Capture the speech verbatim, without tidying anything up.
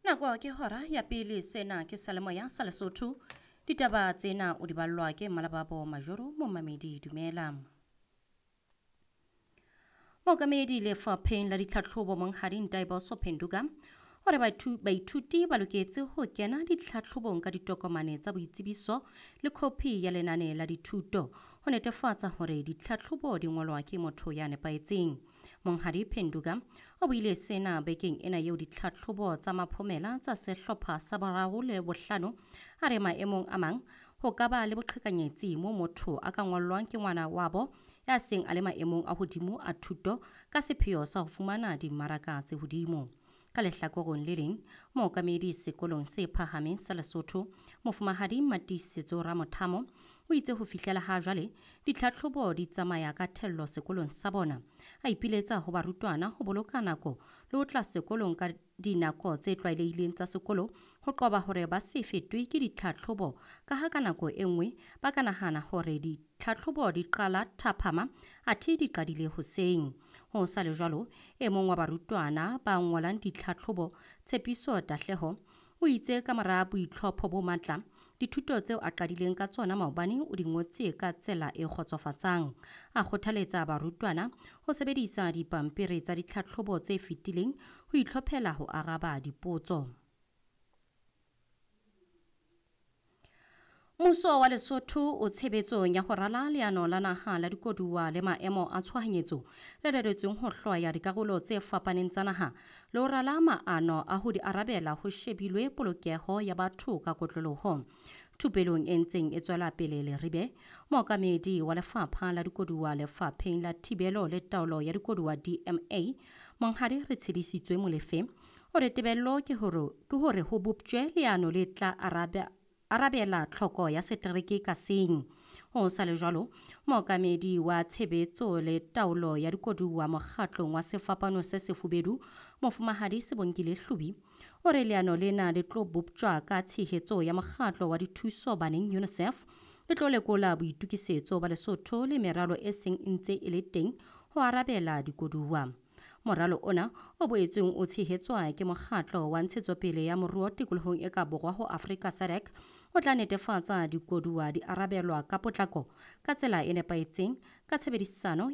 Nako ke hora ya pele, sena ke Salemoya sa Lesotho. Ditaba tsena o di ballwa ke Malababo Majoro. Momamedi, dumela. Mookamedi lefapheng la ditlhatlhobo Monghadi Ntaiboso Phenduka hore baithuti ba loketse ho kena ditlhatlhobong ka ditokomane tsa boitsebiso le khopi ya lenane la dithuto ho netefatsa hore ditlhatlhobo di ngolwa ke motho ya nepahetseng. Monghadi Phenduka o buile sena bekeng ena eo ditlhatlhobo tsa maphomela tsa sehlopha sa boraro le bohlano. A re maemong a mang ho ka ba le boqhekanyetsi mo motho a ka ngollwang ke ngwana wabo ya seng a le maemong a hodimo a thuto ka sepheo sa ho fumana dimmaraka tse hodimo. Ka lehlakoreng le leng, mookamedi sekolong se phahameng sa Lesotho, Mofumahadi Matiisetso Ramothamo, o itse ho fihlela ha jwale ditlhatlhobo di tsamaya ka thello sekolong sa bona. A ipiletsa ho barutwana ho boloka nako le ho tla sekolong ka dinako tse tlwaelehileng tsa sekolo ho qoba hore ba se fetwe ke ditlhatlhobo, ka ha ka nako e nngwe ba ka nahana hore ditlhatlhobo di qala thapama athe di qadile hoseng. Ho sa le jwalo, e mong wa barutwana ba ngolang ditlhatlhobo, Tshepiso Tahleho, o itse ka mora boitlhopho bo matla, dithuto tseo a qadileng ka tsona maobane o di ngotse ka tsela e kgotsofatsang. A kgothaletsa barutwana ho sebedisa dipampiri tsa ditlhatlhobo tse fetileng ho itlhophela ho araba dipotso. Mmuso wa Lesotho o tshebetsong ya ho rala leano la naha la dikoduwa le maemo a tshohanyetso le reretsweng ho hlwaya dikarolo tse fapaneng tsa naha le ho rala maano a ho di arabela ho shebilwe polokeho ya batho ka kotloloho. Thupelong e ntseng e tswela pele Leribe, mookamedi wa lefapha la dikoduwa lefapheng la thibelo le taolo ya dikoduwa D M A, Monghadi Retshedisitswe Molefe, o re tebello ke hore ke hore ho boptjwe leano le tla arabe arabela tlhoko ya setereke ka seng. Ho sa le jwalo, mookamedi wa tshebetso le taolo ya dikoduwa mokgatlong wa Sefapano se Sefubedu, Mofumahadi Sebongile Hlubi, o re leano lena le tlo boptjwa ka tshehetso ya mokgatlo wa dithuso baneng UNICEF, le tlo lekola boitokisetso ba Lesotho le meralo e seng e ntse e le teng ho arabela dikoduwa. Moralo ona o boetseng o tshehetswa ke mokgatlo wa ntshetsopele ya moruo tikolohong e ka borwa ho Afrika SADC, o tla netefatsa dikoduwa di arabelwa ka potlako ka tsela e nepahetseng ka tshebedisano